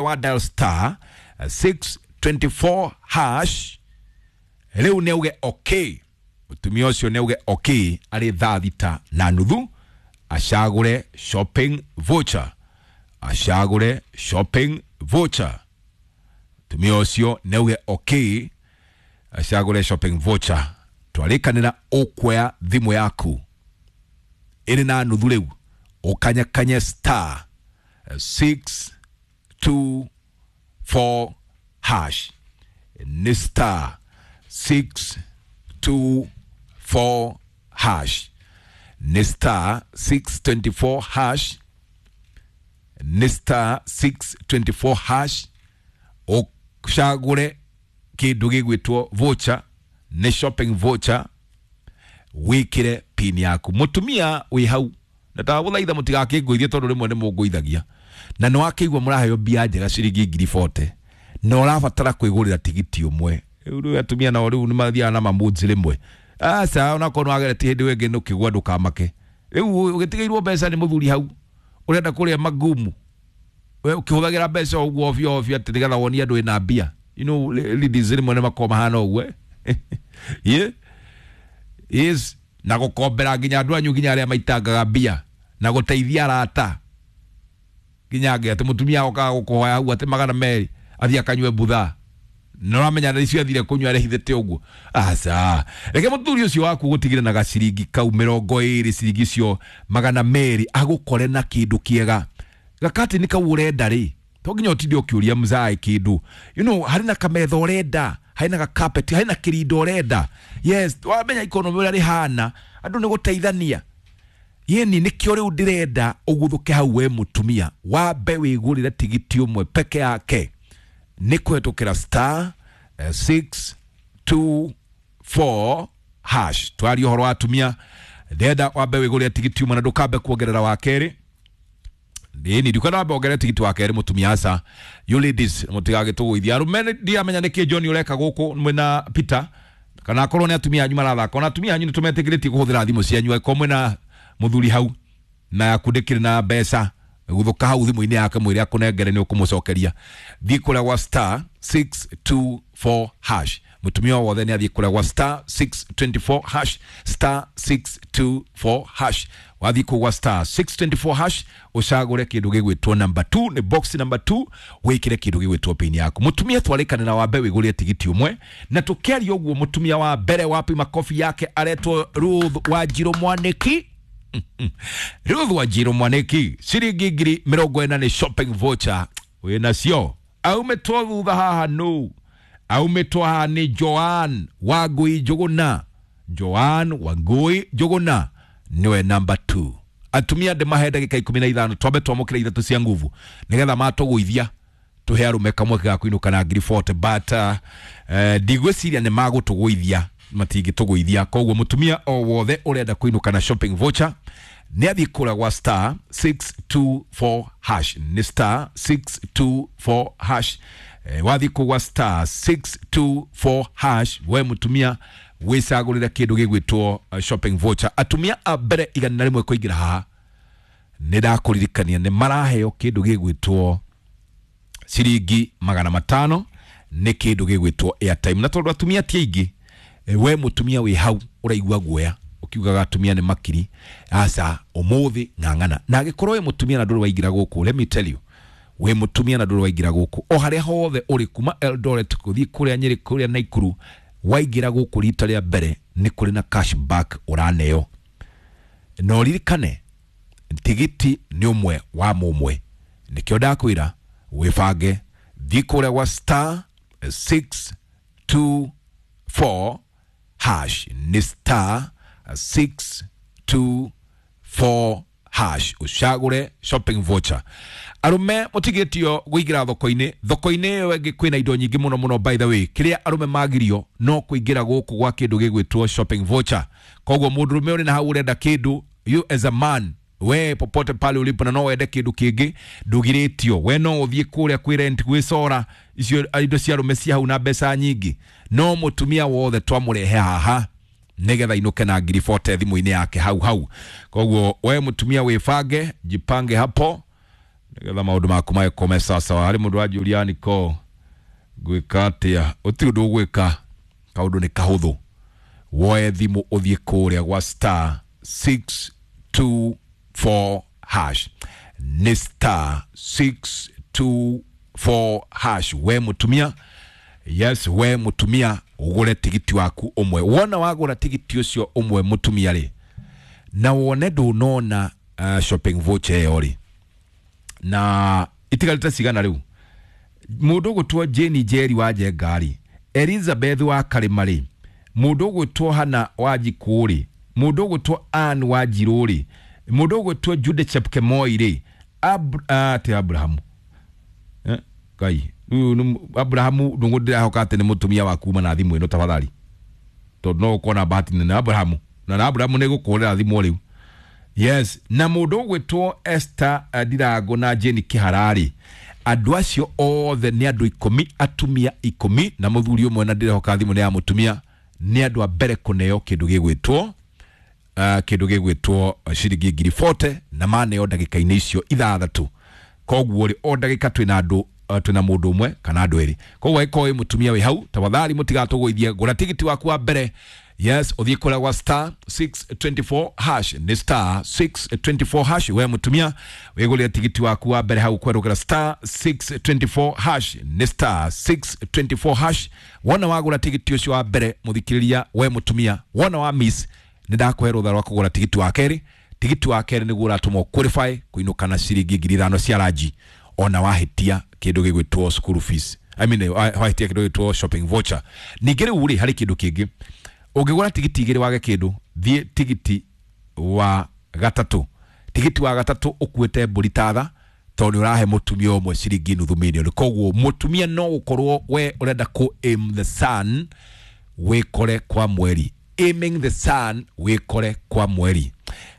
Wa dial star 624 hash rĩu nĩ auge okay. Mũtumia ũcio nĩ auge okay arĩ 6:30 acagũre shopping voucher, acagũre shopping voucher. Mũtumia ũcio nĩ auge okay acagũre shopping voucher. Twarĩkanĩra ũkuoya thimũ yaku ĩrĩ na nuthu rĩu ũkanyakanye star 624 hash, nĩ star 624 hash, nĩ star 624 hash, nĩ star 624 hash. Ũcagũre kĩndũ gĩgwĩtwo voucher, nĩ shopping voucher, wĩkĩre pin yaku. Mũtumia wĩ hau na ndagũthaitha mũtigakĩngũithie tondũ rĩmwe nĩ mũngũithagia na nĩ wakĩigua mũraheo mbia njega ciringi 40,000 na ũrabatara kwĩgũrĩra tigiti ũmwe. Rĩu atumia nao rĩu nĩ mathiaga na mamũnzi rĩmwe. Aca onakorwo nĩ wageretie hĩndĩ ĩyo ĩngĩ ũkĩgwa ndũkamake. Rĩu ũgĩtigĩirwo mbeca nĩ mũthuri hau ũrenda kũrĩa magumu, we ũkĩhũthagĩra mbeca o ũguo ovyo ovyo atĩ nĩgetha wonie andũ wĩna mbia. You know, ladies rĩmwe nĩ makoragwo mahana ũguo, eh? Yeah. Yes, na gũkombera nginya andũ anyu nginya arĩa maitangaga mbia na gũteithia arata nginya angĩ atĩ mũtumia okaga gũkũhoya hau atĩ 200 athiĩ akanyue mbutha na ũramenya na icio athire kũnyua arehithĩte ũguo. Aca reke mũthuri ũcio waku gũtigĩre na gaciringi kau 20, ciringi icio 200 agũkore na kĩndũ kĩega. Gakatini kau ũrenda rĩ, to nginya ũtinde ũkĩũria mzae kĩndũ. You know, harĩ na kametha ũrenda, harĩ na gakapeti, harĩ na kĩrindo ũrenda. Yes, wamenya ikonomi ũrĩa rĩhana, andũ nĩ gũteithania. Yeni nĩkĩo rĩu ndĩrenda ũguthũke hau we mũtumia wambe wĩgũrĩre tigiti ũmwe peke yake nĩ kũhetũkĩra star 624 hash. Twaria ũhoro wa atumia, ndĩrenda wambe wĩgũrĩre tigiti ũmwe na ndũkambe kuongerera wa kerĩ. Nini ndikwenda wambe wongerere tigiti wa kerĩ mũtumia, aca. You ladies mũtigagĩtũgũithia. Arũme ndiramenya nĩkĩ John ũreka gũkũ mwĩna Peter, kana akorwo nĩ atumia anyu marathaka. Ona atumia anyu nĩ tũmetĩkĩrĩtie kũhũthĩra thimũ cianyu angĩkorwo mwĩna mũthuri hau na yaku ndĩkĩrĩ na mbeca, guthũka hau thimũ-inĩ yake mwĩre akũnengere nĩ ũkũmũcokeria. Thiĩ kũrĩa gwa star 624 hash. Mũtumia o wothe nĩ athiĩ kũrĩa gwa star 624 hash, star 624 hash. Wathiĩ kũu gwa star 624 hash ũcagũre kĩndũ gĩgwĩtwo number 2, nĩ box number 2, wĩkĩre kĩndũ gĩgwĩtwo pin yaku. Mũtumia twarĩkane na wambe wĩgũrĩre tigiti ũmwe na tũkĩaria ũguo mũtumia wa mbere wapi makobi yake aretwo Ruth Wanjirũ Mwanĩki. Ruth Wanjirũ Mwanĩki, ciringi 40,000 nĩ shopping voucher wĩnacio. Aumĩtwo thutha haha nũ? Aumĩtwo haha nĩ Joan Wangui Njũgũna. Joan Wangui Njũgũna nĩwe number 2. Atumia ndĩmahe ndagĩka 15 twambe twamũkĩre ithatũ cia nguvu nĩgetha matũgũithia tũhe arũme kamweke ga kũinũka na 40,000, but ndigwĩciria nĩ magũtũgũithia, matingĩtũgũithia. Koguo mũtumia o wothe ũrenda kũinũka na shopping voucher nĩ athiĩ kũrĩa gwa star 624 hash, nĩ star 624 hash. Wathiĩ kũu gwa star 624 hash we mũtumia wĩcagũrĩre kĩndũ gĩgwĩtwo shopping voucher. Atumia a mbere 101 kũingĩra haha nĩ ndakũririkania nĩ maraheo kĩndũ gĩgwĩtwo ciringi 500 nĩ kĩndũ gĩgwĩtwo airtime. Na tondũ atumia ti aingĩ, we mũtumia wĩ hau ũraigua guoya ũkiugaga atumia nĩ makiri, aca ũmũthĩ ng'ang'ana. Na angĩkorwo wĩ mũtumia na ndũrĩ waingĩra gũkũ, let me tell you, wĩ mũtumia na ndũrĩ waingĩra gũkũ o harĩa hothe ũrĩ kuma Eldoret gũthiĩ kũrĩa Nyĩrĩ kũrĩa Naikuru, waingĩra gũkũ rita rĩa mbere nĩ kũrĩ na cashback ũraneo. Na ũririkane tigiti nĩ ũmwe wa mũmwe, nĩkĩo ndakwĩra wĩbange, thiĩ kũrĩa gwa star 624 hash, nĩ star 624 hash ũcagũre shopping voucher. Arũme mũtigĩtio kũingĩra thoko-inĩ, thoko-inĩ ĩyo ĩngĩ kwĩna indo nyingĩ mũno mũno. By the way, kĩrĩa arũme magirio no kũingĩra gũkũ gwa kĩndũ gĩgwĩtwo shopping voucher. Koguo mũndũrũme ũrĩ na hau ũrenda kĩndũ, you as a man, we popote pale ulipo na no wende kĩndũ kĩngĩ ndũgirĩtio, we no ũthiĩ kũrĩa kwĩ rent gwĩcora icio indo cia arũme cia hau na mbeca nyingĩ. No mũtumia wothe twamũrehe haha nĩgetha inũke na 40,000 thimũ-inĩ yake hau hau. Koguo we mũtumia wĩbange, jipange hapo. Nĩgetha maũndũ maku magĩkome sawasawa. Harĩ mũndũ wanjũria niko ngwĩka atĩa? Ũtirĩ ũndũ ũgwĩka, kaũndũ nĩ kahũthũ. Woe thimũ ũthiĩ kũrĩa gwa star 624 hash, nĩ star 624 hash. We mũtumia, yes, we mũtumia ũgũre tigiti waku ũmwe. Wona wagũra tigiti ũcio ũmwe mũtumia rĩ, na wone ndũnona shopping voucher ĩyo rĩ, na itigarĩte cigana rĩu? Mũndũ ũgũtwo Jane Njeri wa Njenga rĩ, Elizabeth wa Karĩma rĩ, mũndũ ũgwĩtwo Hana wa Njikũ rĩ, mũndũ ũgwĩtwo Ann wa Njirũ rĩ, mũndũ ũgwĩtwo Jude Chepkemoi rĩ, ti Abrahamu, Ngai rĩu Abrahamu ndũngũ ndĩrahoka atĩ nĩ mũtumia wa kuma na thimũ ĩno tafadhali, tondũ no ũkorwo na bahati nene Abrahamu na Abrahamu nĩ gũkũrĩra thimũ rĩu. Yes, na mũndũ ũgwĩtwo Esther Ndirango na Jane Kĩhararĩ, andũ acio othe nĩ andũ 10, atumia 10 na mũthuri ũmwe, na ndĩrehoka thimũ nĩ ya mũtumia. Nĩ andũ a mbere kũneo kĩndũ gĩgwĩtwo kĩndũ gĩgwĩtwo ciringi ngiri 40, na maneo ndagĩka-inĩ icio 6. Koguo rĩ, o ndagĩka twĩna andũ twĩna mũndũ ũmwe kana andũ erĩ. Koguo angĩkorwo wĩ mũtumia wĩ hau, tafadhali mũtigatũgũithie, gũra tigiti waku wa mbere. Yes, ũthiĩ kũrĩa gwa star 624 hash, nĩ star 624 hash. We mũtumia wĩgũrĩre tigiti waku wa mbere hau kwerũkĩra star 624 hash, nĩ star 624 hash. Wona wagũra tigiti ũcio wa mbere mũthikĩrĩria, we mũtumia, wona wa miss, nĩ ndakũhe rũtha rwa kũgũra tigiti wa kerĩ. Tigiti wa kerĩ nĩguo ũratũma qualify kũinũka na ciringi 5,000 cia ranji, ona wahĩtia kĩndũ gĩgwĩtwo school fees, I mean, wahĩtia kĩndũ gĩgwĩtwo shopping voucher. Ningĩ rĩu rĩ, harĩ kĩndũ kĩngĩ, ũngĩgũra tigiti 2 wage kĩndũ, thiĩ tigiti wa gatatũ. Tigiti wa gatatũ ũkuĩte mbũri tatha, tondũ nĩ ũrahe mũtumia ũmwe ciringi nuthu mirioni. Koguo mũtumia no gũkorwo we ũrenda kũ aim the sun wĩkore kwa mweri, aiming the sun wĩkore kwa mweri.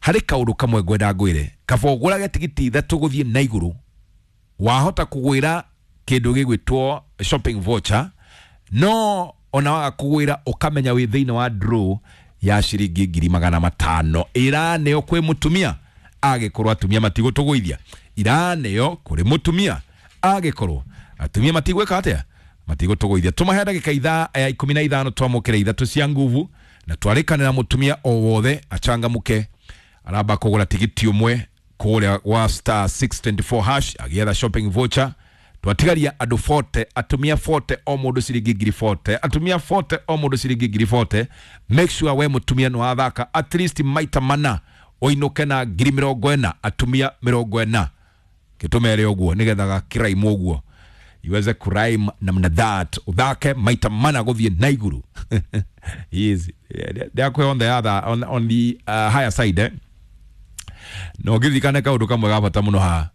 Harĩ kaũndũ kamwe ngwenda ngwĩre, kaba ũgũrage tigiti 3 gũthiĩ na igũrũ, wahota kũgwĩra kĩndũ gĩgwĩtwo shopping voucher, no ona waga kũgwĩra ũkamenya wĩ thĩinĩ wa draw ya ciringi 500,000. Ĩraneo kwĩ mũtumia agĩkorwo atumia matigũtũgũithia, iraneo kũrĩ mũtumia agĩkorwo atumia matigwĩka atĩa, matigũtũgũithia. Tũmahe ndagĩka 15 twamũkĩre 3 cia nguvu, na twarĩkanĩra mũtumia o wothe achangamũke, aramba kũgũra tigiti ũmwe kũrĩa gwa star 624 hash agĩetha shopping voucher. Twatigaria andũ 40, atumia 40 o mũndũ ciringi ngiri 40, atumia 40 o mũndũ ciringi ngiri 40. Make sure we mũtumia nĩ wathaka at least maita mana, ũinũke na ngiri 40, atumia 40. Gĩtũmere ũguo nĩgetha gakĩraimu ũguo iweze kurime namna that, uthake maita mana gũthiĩ na igũrũ. Yes, ndakwe on the other on the higher side, eh? No ngĩririkane kaũndũ kamwe ga bata mũno haha,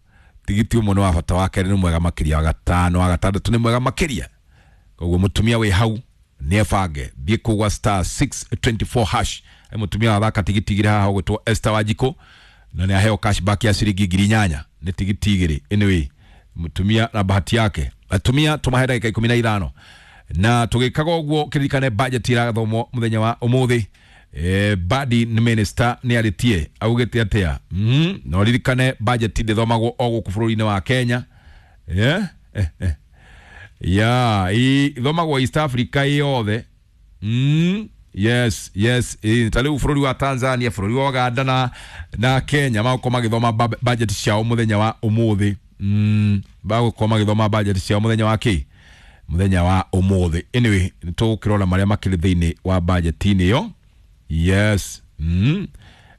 tigiti ũmwe nĩ wa bata, wa kerĩ nĩ mwega makĩria, wa gatano, wa gatandatũ nĩ mwega makĩria. Koguo mũtumia wĩ hau nĩ ebange, thiĩ kũu gwa star 624 hash. Mũtumia wathaka tigiti 2 haha ũgwĩtwo Esther Wanjikũ, na nĩ aheo cashback ya ciringi 8,000 nĩ tigiti 2. Anyway, mũtumia na bahati yake. Atumia tũmahe ndagĩka 15, na tũgĩkaga ũguo kĩririkane budget irathomwo mũthenya wa ũmũthĩ. Badi nĩ minister nĩ arĩtie augĩte atĩa? No ririkane budget ndĩthomagwo o gũkũ bũrũri-inĩ wa Kenya, yeah? Yeah, ithomagwo East Africa yothe. Yes, yes, ta rĩu bũrũri wa Tanzania, bũrũri wa Uganda na Kenya magũkorwo magĩthoma budget ciao mũthenya wa ũmũthĩ. Bagũkorwo magĩthoma budget ciao mũthenya wa kĩ? Mũthenya wa ũmũthĩ. Anyway, nĩ tũgũkĩrora marĩa makĩrĩ thĩinĩ wa budget-inĩ ĩyo. Yes.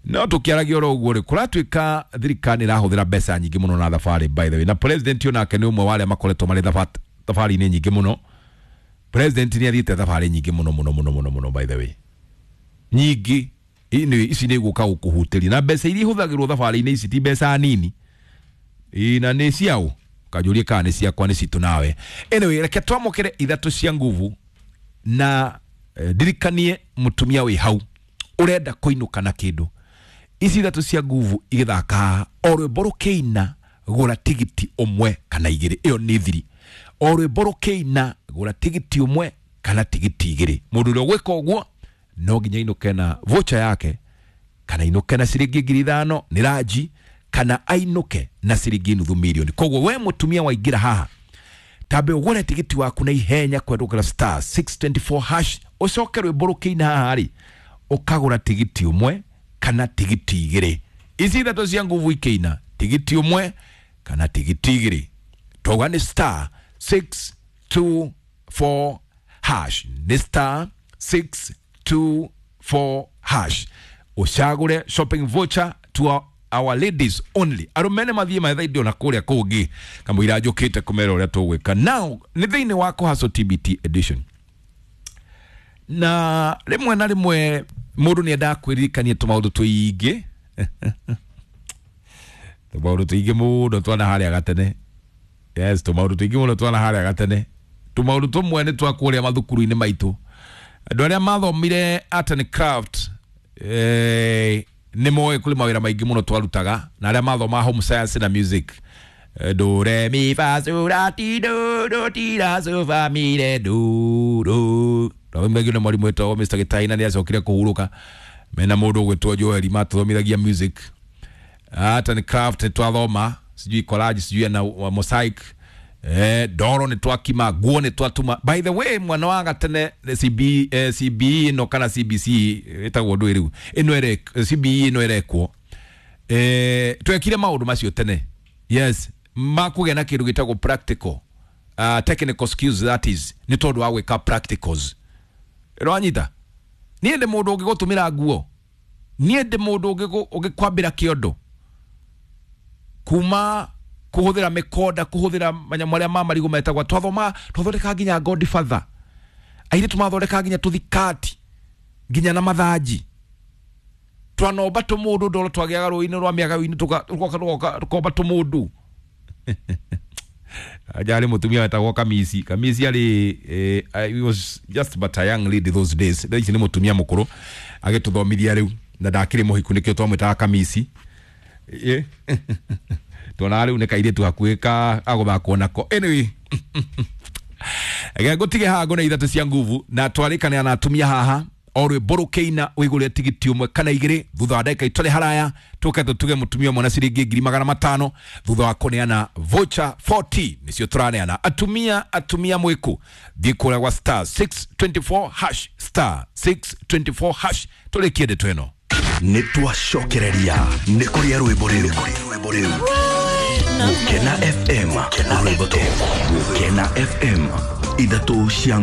No tũkĩaragia oro ũguo rĩ, kũratuĩka thirikari ĩrahũthĩra mbeca nyingĩ mũno na thabarĩ, by the way. Na president onake nĩ ũmwe wa arĩa makoretwo marĩ thabarĩ-inĩ nyingĩ mũno. President nĩ athiĩte thabarĩ nyingĩ mũno mũno mũno mũno mũno, by the way. Nyingĩ. Anyway, ici nĩ gũka gũkũhutĩria. Na mbeca iria ihũthagĩrwo thabarĩ-inĩ ici ti mbeca nini. Na nĩ ciao. Kanjũrie kana nĩ ciakwa, nĩ citũ nawe. Anyway, reke twamũkĩre 3 cia nguvu, na ndirikanie mũtumia wĩ hau ũrenda kũinũka na kĩndũ. Ici 3 cia nguvu igĩthaka o rwĩmbo rũkĩina, gũra tigiti 1 kana 2. Ĩyo nĩ thiri. O rwĩmbo rũkĩina, gũra tigiti 1 kana tigiti 2. Mũndũ ũrĩa ũgwĩka ũguo no nginya ainũke na voucher yake, kana ainũke na ciringi 5,000 nĩ ranji, kana ainũke na ciringi nuthu milioni. Koguo we mũtumia waingĩra haha, tambe ũgũre tigiti waku na ihenya kwendũkĩra star 624 hash, ũcoke rwĩmbo rũkĩina haha rĩ, ũkagũra tigiti ũmwe kana tigiti igĩrĩ. Ici ithatũ cia nguvu ikĩina, tigiti ũmwe kana tigiti igĩrĩ. Twauga nĩ star 624 hash, nĩ star 624 hash, ũcagũre shopping voucher to our ladies only. Arũme nĩ mathiĩ mathaidio na kũrĩa kũngĩ kamũira njũkĩte kũmera ũrĩa tũgwĩka. Now nĩ thĩinĩ wa Kũhaco TBT edition, na rĩmwe na rĩmwe mũndũ nĩ endaga kwĩririkania tũmaũndũ tũingĩ, tũmaũndũ tũingĩ mũno twana harĩa gatene. Yes, tũmaũndũ tũingĩ mũno twana harĩa gatene. Tũmaũndũ tũmwe nĩ twa kũrĩa mathukuru-inĩ maitũ. Andũ arĩa mathomire art and craft nĩ moĩ kũrĩ mawĩra maingĩ mũno twarutaga, na arĩa mathoma home science na music, do re mi fa sol la ti do do ti la so fa mi re do do. Twathomithagio nĩ mwarimũ wetagwo Mr. Gĩtaina, nĩ acokire kũhurũka mena mũndũ ũgwĩtwo Joel, matũthomithagia music, art and craft twathoma, sijui collage, sijui na mosaic, ndoro nĩ twakima, nguo nĩ twatuma. By the way, mwana wa gatene CB, CBE ĩno kana CBC ĩtagwo ndũĩ rĩu ĩno ĩre CBE ĩno ĩrekwo, twekire maũndũ macio tene. Yes, makũgĩa na kĩndũ gĩtagwo practical, technical skills, that is nĩ tondũ wa gwĩka practicals. Ĩrwanyita niĩ ndĩ mũndũ ũngĩgũtũmĩra nguo, niĩ ndĩ mũndũ ũngĩkwambĩra kĩondo, kuma kũhũthĩra mĩkonda, kũhũthĩra manyamũ marĩa ma marigũ metagwo, twathoma twathondeka nginya Godfather, airĩtu mathondeka nginya tũthikati nginya na mathanji, twanomba tũmũndũ ndoro twagĩaga rũĩ-inĩ rwa mĩaga-inĩ, tũgoka tũkomba tũmũndũ. Ajarĩ mũtumia wetagwo Kamisi. Kamisi arĩ he was just but a young lady those days. Thaa ici nĩ mũtumia mũkũrũ agĩtũthomithia rĩu, na ndakĩrĩ mũhiku nĩkĩo twamwĩtaga Kamisi. Tuonaga rĩu nĩ kairĩtu hakuhĩ ka agũthakwo nako. Anyway, reke ngũtige haha ngũne ithatũ cia nguvu, na twarĩkanĩra na atumia haha o rwĩmbo rũkĩina wĩgũrĩre tigiti ũmwe kana igĩrĩ. Thutha wa ndagĩka itarĩ haraya tũke tũtuge mũtumia ũmwe na ciringi 500,000 thutha wa kũneana voucher 40 nĩcio tũraneana. Atumia, atumia mwĩkũ, thiĩ kũrĩa gwa star 624 hash, star 624 hash, tũrĩkie ndeto ĩno. Nĩ twacokereria nĩ kũrĩa rwĩmbo rĩu. Gũkena FM, rwĩmbo tũ. Gũkena FM, ithatũ cia